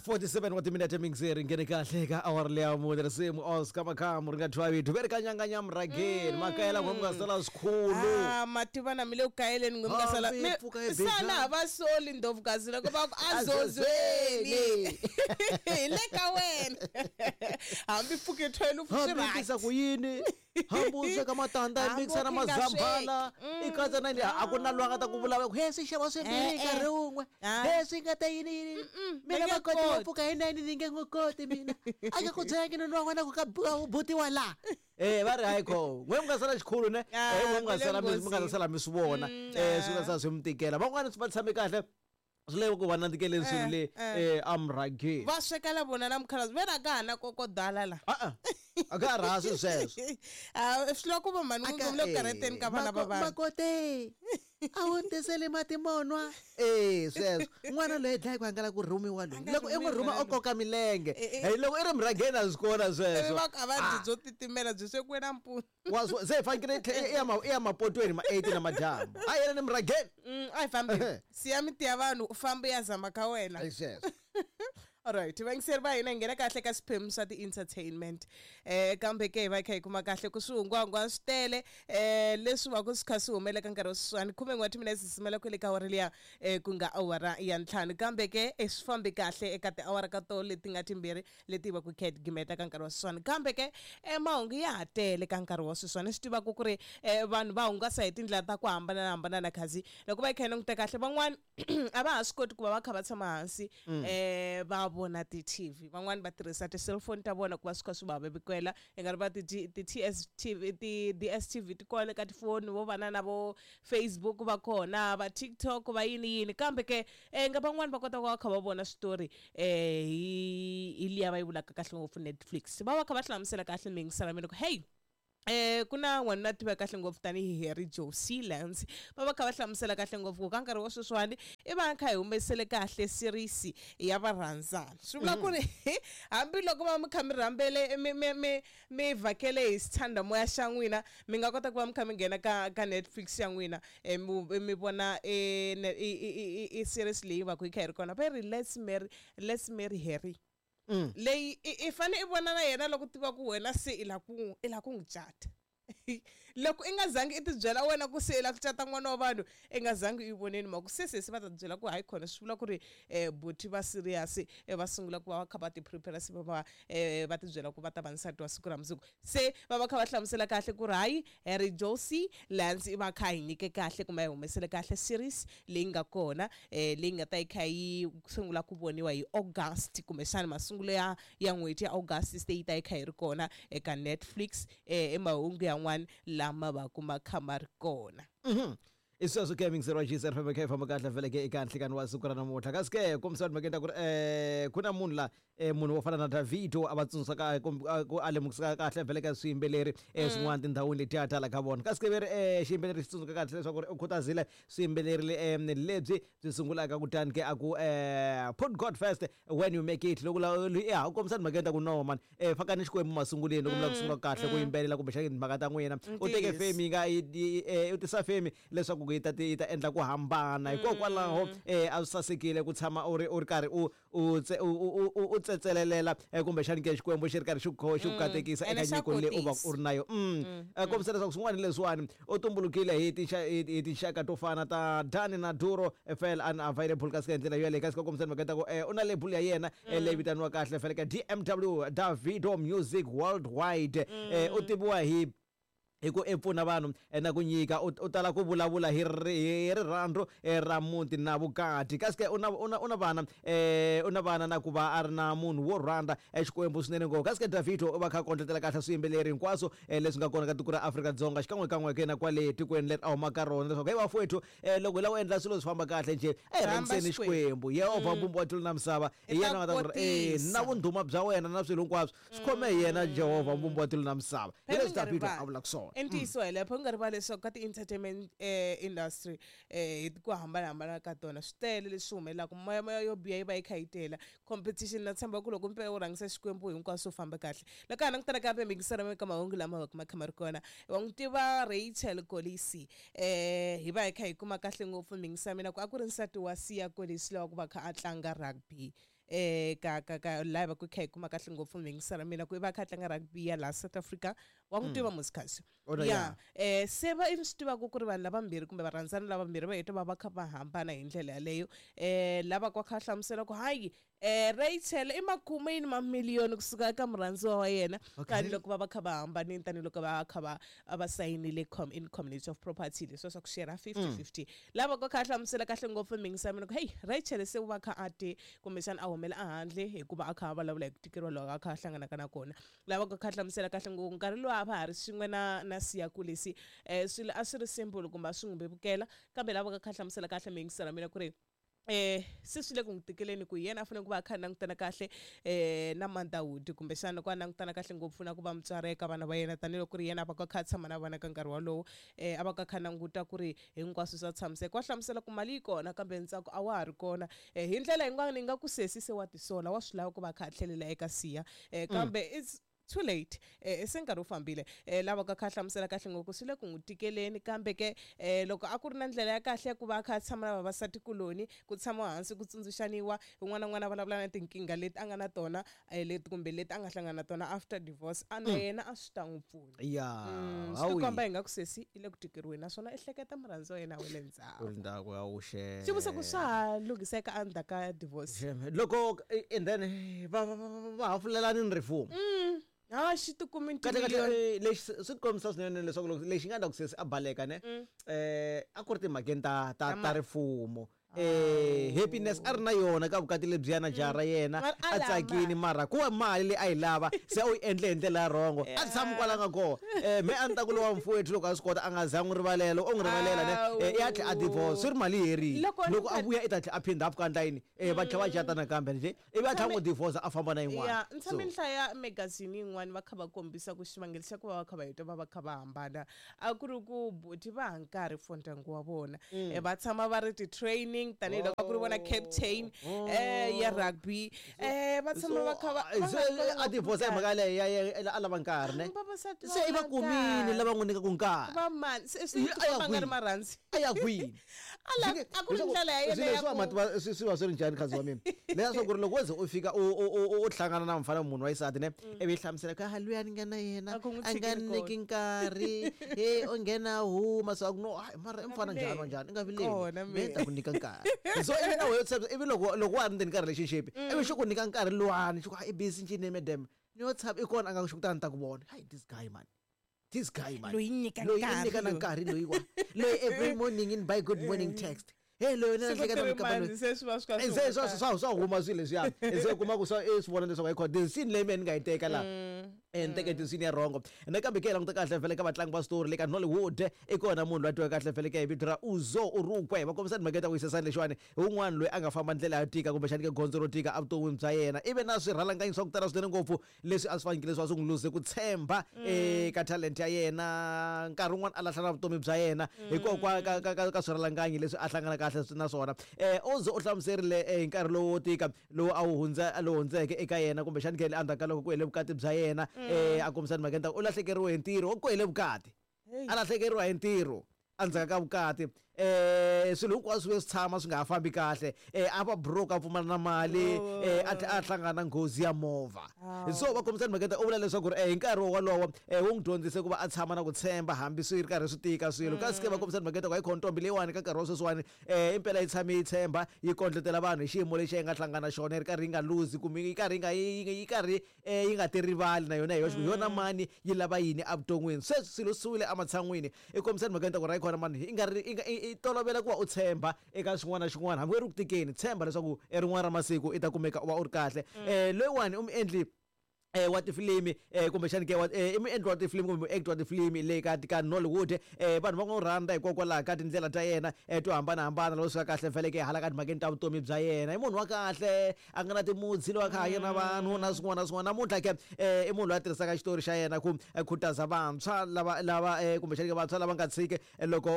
47 wa timinete mingizeri nghene kahle ka awara leya mune risimu Oscar Makamu ri nga thwavi duveri ka nyanga nyamurhageni makayela n'we mi nga sala swikhulu. Ah, mativa na mi le ku kayeleni n'we mi nga sala Hambi pfuka hi sana bejana. va soli ndlovukazi loko va ku azozweni hi le ka wena hambi pfuke 12 swi Hambi right. tisa ku yini, hambi u sweka matandza i Hambi mikisa na u nga mazambhala sweki. i katsa na a ku na loyi a nga ta ku vulavula ku he swi xava swimbirhi Eh, eh. nkarhi wun'we Ah. he swi nga ta yini yini mina va nge makoti wa koti. pfuka hi 9 ni nge n'wi koti mina a nga ku byelangi nuna wa wena ku ka butiwa laha. Eh, va ri hayi kho n'we mi nga sala xikhulu ne. Ah, Eh, n'we mi nga mi le sala mi nga nghozini. sala mi swi vona. Eh, swi nga sala swi mi tikela van'wana va tshame kahle swi le ku va nandzikeleni swilo le Eh, eh amrhageni. Va sweka la vona na mukhalabye ve ra ka ha na kokodala la. A a ka ha rhasi sweswo. Ah, swi lava ku va mhani n'wi le ku karhateni ka vana va vanhu. Makote a wu tiseli mati monwa e sweswo n'wana loyi dlayi ku angala ku rhumiwa loyi A nga loko i n'wi rhumiwi rhuma n'wana o koka milenge. Eh, eh. Hey, loko i ri murhangeni a swi kona Ivi sweswo. va ku a va dyi byo titimela byi swekiwe nampundzu. Wa swi se hi fanekele i ya mapotweni ma 8 na madyambu a yena ni murhangeni. A hi fambi Ehe. siya miti ya vanhu u famba u ya zama ka wena. Ai sweswo. Alright, vayingiseri va hina hi nghena kahle ka swiphemu swa ti-entertainment. Kambe ke hi va hi kha hi kuma kahle ku swihungwahungwa swi tele leswi va ku swi kha swi humelela ka nkarhi wa sweswiwani 11 wa timinete simela kwele ka awara liya ku nga awara ya 5 kambe ke swi fambi kahle eka tiawara ka to leti nga timbirhi leti va ku kha hi gimeta ka nkarhi wa sweswiwani kambe ke mahungu ya ha tele ka nkarhi wa sweswiwani swi tivaka ku ri vanhu va hungasa hi tindlela ta ku hambanahambana na khazi loko va yi kha yi languta kahle van'wani a va ha swi koti ku va va kha va tshama hansi va vona ti-TV van'wani va tirhisa ti-cellphone ta vona ku va swi kha swi va vevukela i nga ri va ti-TSTV ti-DSTV ti kona ka tifoni vo vana na vo Facebook va kona va TikTok va yini yini kambe ke nga van'wani va kota ku va kha va vona switori hi liya va yi vulaka kahle ngopfu Netflix va va kha va hlamusela kahle mi yingisela mina ku hey ku na n'wanuna tiveka kahle ngopfu tanihi Harry Josie Lance va va kha va hlamusela kahle ngopfu ku ka nkarhi wa sweswiwani i va kha hi humesele kahle series ya varhandzani swi vula ku ri hambiloko va mi kha mi rhambele mi vhakele hi sithandamoya xa n'wina mi nga kota ku va mi kha mi nghena ka Netflix ya n'wina mi vona i series leyi va ku yi kha yi ri kona va ri let's marry Harry. Leyi i fane i vona na yena loko tiva ku wena se i la ku i la ku n'wi cata loko i nga zangi i tibyela wena ku se i la ku cata n'wana wa vanhu i nga zangi i voneni mhaka se sesi va ta byela ku hayi khona swi vula ku ri buti va serious va sungula ku va va kha va ti prepare se va va tibyela ku va ta va nsati wa siku ra mundzuku se va va kha va hlamusela kahle ku ri hayi Harry Josie Lance i va kha hi nyike kahle kumbe hi humesele kahle series leyi nga kona leyi nga ta yi kha yi sungula ku voniwa hi August kumbexana masungulo ya n'hweti ya August se yi ta yi kha yi ri kona eka Netflix emahungu yan'wana lama va kuma kha ma ri kona. I sweswo ke mingiseri wa GCR FM kha hi famba kahle vhele ke eka nhlikani wa siku ra namuntlha kasi ke kombisa timhakeni ta ku ri ku na munhu la munhu wo fana na Davido a va tsundzuxaka ku a lemukisaka kahle vhele ka swiyimbeleri swin'wana tindhawini letiya tala ka vona kasi ke ve ri xiyimbeleri xi tsundzuka kahle leswaku ri u khutazile swiyimbeleri lebyi byi sungulaka kutani ke a ku put God first when you make it loko ya u kombisa timhakeni ta ku no man fakani xikwembu masunguleni loko mi lava ku sungula kahle ku yimbelela kumbexana timhaka ta n'wina u teke Ntiyiso. fame yi nga u tisa fame leswaku ku yi ta yi ta endla ku hambana hikokwalaho a swi sasekile ku tshama u ri u ri karhi u u tse- u u- u u tsetselelela kumbexani ke xikwembu xi ri karhi xi ku xi ku katekisa Ene eka xa nyiko leyi u va kotisa. u ri na yo kombisa leswaku swin'wana leswiwani u tumbulukile hi hi tinxaka to fana ta Dani na Duro FL unavailable kasi ka hi ndlela yoleyo kasi ka kombisa mhaka ta ku u na label ya yena leyi vitaniwa kahle fele ka DMW Davido Music Worldwide u tiviwa hi ku i pfuna vanhu na ku nyika u tala ku vulavula hi rirhandzu ra muti na vukati kasi ke u na u na u na vana u na vana na ku va a ri na munhu wo rhandza Xikwembu swinene ngopfu kasi ke Davido u va kha a kondletela kahle swiyimbeleri hinkwaswo leswi nga kona ka tiko ra Afrika-Dzonga xikan'wekan'we ke na kwale tikweni leri a humaka rona leswaku hey vafowethu loko hi lava ku endla swilo swi famba kahle njhe a hi Rhamba rhangiseni Xikwembu. Xikwembu Yehovha mbumbi wa tilo na misava hi I ta yena a nga ta ku ri kotisa. na vundhuma bya wena na swilo hinkwaswo swi khome hi yena Jehovha mbumbi wa tilo na misava hi Phela leswi mi nga Davido rivali. a vulaka swona. I ntiyiso hi lapho u nga rivali leswaku ka ti-entertainment industry hi ku hambanahambana ka tona swi tele leswi humelelaka moya yo biha yi va yi kha yi tela competition na tshemba ku loko mpela u rhangisa Xikwembu hinkwaswo u famba kahle loko ha langutana kambe mingisela ka mahungu lama va ma kha ma ri kona wa n'wi tiva Rachel Kolisi hi va hi kha hi kuma kahle ngopfu mingisa mina ku a ku ri nsati wa Siya Kolisi lowa ku va kha a tlanga rugby. ka laha va ku kha hi kuma kahle ngopfu mhingisana mina ku i va kha a tlanga rugby ya laha South Africa wa n'wi tiva musikasi. Ya. Se va i swi tivaka ku ri vanhu lavambirhi kumbe varhandzani lavambirhi va heta va va kha va hambana hi ndlela yaleyo. Lava kwa kha hlamusela ku hayi Rachel i makume yini mamiliyoni kusuka eka murhandziwa wa yena tanihiloko va va kha va hambanile, tanihiloko va kha va va sayinile in community of property leswiya swa ku share 50-50. Lava kwa kha hlamusela kahle ngopfu mhingisa mina ku hey Rachel se u va kha a te kumbexana a humela ehandle hikuva a kha a vulavula hi ku tikeriwa loko a kha a hlanganaka na kona. Lava kwa kha hlamusela kahle ngopfu nkarhi lowu a va ha ri swin'we na Siya Kolisi swilo a swi ri simple kumbe a swi n'wi vevukela, kambe lava ka kha hlamusela kahle mhingisa mina ku ri se swi le ku n'wi tikeleni ku yena a fanele ku va a kha a langutana kahle na motherhood kumbexana ku a langutana kahle ngopfu na ku va mutswari eka vana va yena, tanihiloko ku ri yena a va ka kha a tshama na vana ka nkarhi wolowo. A va ka kha languta ku ri hinkwaswo swa tshamiseka. Wa hlamusela ku mali yi kona kambe ntsako a wa ha ri kona. Hi ndlela yin'wana yi nga ku sesi se wa tisola, wa swi lava ku va a kha a tlhelela eka Siya, kambe it's too late. Se nkarhi wu fambile. Lava ka kha hlamusela kahle ngopfu swi le ku n'wi tikeleni, kambe ke loko a ku ri na ndlela ya kahle ya ku va a kha a tshama na vavasati kuloni, ku tshama hansi ku tsundzuxaniwa, un'wana na un'wana a vulavula na tinkingha leti a nga na tona leti kumbe leti a nga hlangana na tona after divorce, a na yena a swi ta n'wi pfuna. Swi tikomba hi nga ku sesi i le ku tikeriweni naswona i hleketa murhandzi wa yena wa le ndzhaku. Ndzhaku ya wuxe. Xivutiso ku swa ha lunghiseka endzhaku ka divorce? Loko and then va va hafulelani ni rifumo. Ha xi tikumi kahle kahle lexi swi kombisa swinene leswaku loko lexi nga endla ku sesi a baleka ne a ku ri timhakeni ta rifumo. Happiness a ri na yona ka vukati lebyiya na jaha ra yena a tsakini, mara ku va mali leyi a yi lava se u yi endle hi ndlela ya rhongo, a tshami kwala nga kona. Me a ni ta ku lowa mfowethu loko a swi kota a nga za n'wi rivalela, u n'wi rivalela ne i ya tlhela a divorce, swi ri mali yi herile. Loko a vuya i ta tlhela a phinda a pfuka ndlayini, va tlhela va cata nakambe nje, ivi a tlhela n'wi divorce a famba na yin'wana. Ya, ni tshame ni hlaya magazini yin'wana va kha va kombisa ku xivangelo xa ku va va kha va heta va va kha va hambana a ku ri ku buti va ha nkarhi for ndyangu wa vona. Va tshama va ri ti-training tanihiloko a ku ri vona captain ya rugby. Va tshama va kha va a divorce hi mhaka yaleyo a lava nkarhi ne. Se i va kumini lava n'wi nyikaka nkarhi. Va mani? Se swi tikomba nga ri marhandzi. A ya kwini? A ku ri ndlela ya yena ya ku swi va swi ri njhani khazi wa mina? Leswaku ri loko wo ze u fika u hlangana na mfana munhu wa xisati ne, ivi yi hlamusela ku ha luya ni nga na yena a nga nyiki nkarhi, he u nghena huma, so a ku no mara i mfana njhani wa njhani, i nga vileli me ta ku nyika nkarhi. So ivi na wehe ivi loko loko wa ha ri ndzeni ka relationship ivi xi ku nyika nkarhi luwani xi ku i busy njhini madam ni yo tshama i kona a nga xi ku tani ta ku vona, hi this guy man. This guy man. Loyi nyika nkarhi. Loyi nyika nkarhi loyi wa. Loyi every morning in by good morning text. Hey loyi na hleketa mukamba loyi. Se swi va swi se swa swa huma swilo leswiya. Se kuma ku swa swi vona leswaku hayi khona scene leyi mina ni nga yi teka la. Ni teke scene ya wrong. Nakambe ke languta kahle vhele ka vatlangi va story le ka Nollywood i kona munhu loyi a tiwaka kahle vhele ka hi vito ra Uzo Urukwe. Va kombisa timhaka ta ku yisesana lexiwani un'wana loyi a nga famba ndlela yo tika kumbexani ke gondzo ro tika evuton'wini bya yena. Ivi na swirhalanganyi swa ku tala swinene ngopfu leswi a swi fanekele leswi a swi n'wi luze ku tshemba eka talent ya yena, nkarhi wun'wana a lahla na vutomi bya yena hikokwalaho ka swirhalanganyi leswi a hlangana kahle na swona. Uzo u hlamuserile hi nkarhi lowu wo tika lowu a wu hundza lowu hundzeke eka yena kumbexani ke endzhaku ka loko ku hele vukati bya yena, a kombisa timhaka ta ku u lahlekeriwe hi ntirho ku hele vukati, a lahlekeriwa hi ntirho endzhaku ka vukati. Swilo hinkwaswo swi tshama swi nga ha fambi kahle, a va broke a pfumala na mali, a hlangana na nghozi ya movha. So va kombisa timhaka ta u vula leswaku hi nkarhi wolowo wu n'wi dyondzise ku va a tshama na ku tshemba hambi swi ri karhi swi tika swilo. Kasi ke va kombisa timhaka ta ku hayi khona ntombi leyiwani ka nkarhi wa sweswiwani impela yi tshame yi tshemba yi kondletela vanhu hi xiyimo lexi yi nga hlangana na xona, yi ri karhi yi nga luzi kumbe yi karhi yi nga yi karhi yi nga ti rivali na yona hi yoxe ku yona mani yi lava yini evuton'wini. Sweswi swilo swi wile ematshan'wini, i kombisa timhaka ta ku ra khona mani i nga ri i tolovela ku va u tshemba eka xin'wana na xin'wana hambi u ri ku tikeni, tshemba leswaku e rin'wana ra masiku i ta kumeka u va u ri kahle. Loyiwani u muendli wa tifilimi kumbexani ke i muendli wa tifilimi kumbe muactor wa tifilimi le ka ka Nollywood. Vanhu va n'wi rhandza hikokwalaho ka tindlela ta yena to hambanahambana loko swi ka kahle vhele ke hala ka timhakeni ta vutomi bya yena. I munhu wa kahle a nga na timudzi loyi a kha hanya na vanhu na swin'wana na swin'wana. Namuntlha ke i munhu loyi a tirhisaka xitori xa yena ku khutaza vantshwa lava lava kumbexani ke vantshwa lava nga tshiki loko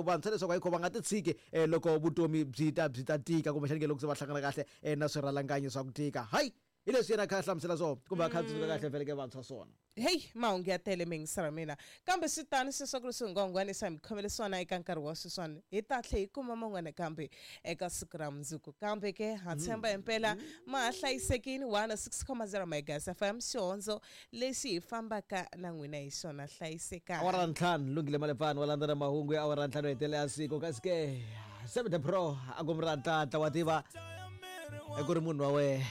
vantshwa leswaku hayi kho va nga ti tshiki loko vutomi byi ta tika kumbexani ke loko se va hlangana kahle na swirhalanganyi swa ku tika. Hayi. Hi leswi yena a kha a hlamusela swona kumbe a kha a tsundzuka kahle vhele ke vantshwa swona. Heyi, mahungu ya tele miyingiseri wa mina, kambe swi tano sweswo ku ri swihungwahungwana leswi a hi mi khomele swona eka nkarhi wa sweswiwani. Hi ta tlhe hi kuma man'wana kambe eka siku ra mundzuku. Kambe ke ha tshemba himpela ma ha hlayisekile. 106.0 Megahertz FM, xihondzo lexi hi fambaka na n'wina hi xona. Hlayisekani. Awara ntlhanu lunghile malepfani wa landzela mahungu ya awara ntlhanu hetelela ya siku, kasi ke 7 Pro a ku mi ra ntlantla wa tiva ku ri munhu wa wehe.